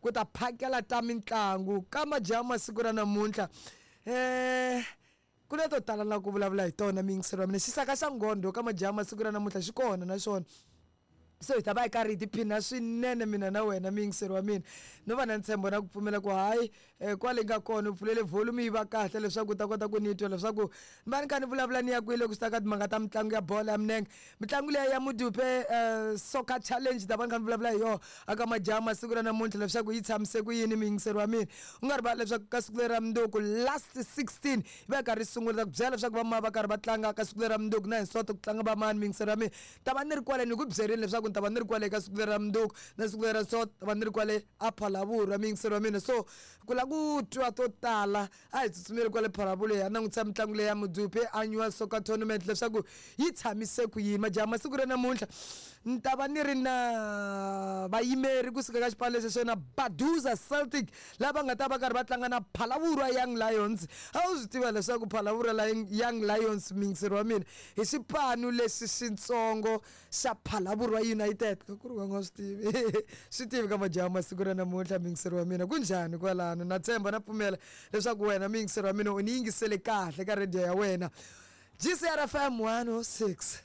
Ku ta phakela ta mitlangu ka majaha masiku ra namuntlha. Ku na to tala na ku vulavula hi tona miyingiselo wa mina. Xisaka xa nghondo ka majaha masiku ra namuntlha xi kona na xona. So hi ta va hi karhi hi tiphina swinene mina na wena miyingiselo wa mina. No va na ntshembo na ku pfumela ku hayi kwale nga kona u pfulele volume yi va kahle leswaku u ta kota ku ni twa leswaku ni va ni kha ni vulavula ni ya kwihi loko swi ta ka timhaka ta mitlangu ya bolo ya minenge. Mitlangu liya ya Mudupe Soccer Challenge ta va ni kha ni vulavula hi yona aka majaha masiku ra namuntlha leswaku yi tshamise ku yini muyingiseri wa mina. U nga rivali leswaku ka siku leri ra mundzuku last 16 yi va yi karhi yi sungula ta ku byela leswaku va ma va karhi va tlanga ka siku leri ra mundzuku na hi Sonto ku tlanga va mani muyingiseri wa mina. Ta va ni ri kwale ni ku byerile leswaku ni ta va ni ri kwale ka siku leri ra mundzuku na siku leri ra Sonto ta va ni ri kwale a Phalaborwa muyingiseri wa mina. So ku lava ku twa to tala a hi tsutsumeli kwale Phalaborwa hi ya langutisa mitlangu leyi ya Mudupe Annual Soccer Tournament leswaku yi tshamise ku yini. Majaha masiku ra namuntlha ni ta va ni ri na vayimeri kusuka ka xipano lexi xo na Baduza Celtic lava nga ta va karhi va tlanga na Phalaborwa Young Lions. A wu swi tiva leswaku Phalaborwa Young Lions muyingiseri wa mina hi xipano lexi xitsongo xa Phalaborwa United. Loko ku ri wa nga swi tivi swi tivi ka majaha masiku ra namuntlha muyingiseri wa mina ku njhani kwalano. Na tshemba na pfumela leswaku wena muyingiseri wa mina u ni yingisele kahle ka radio ya wena. GCR FM 106.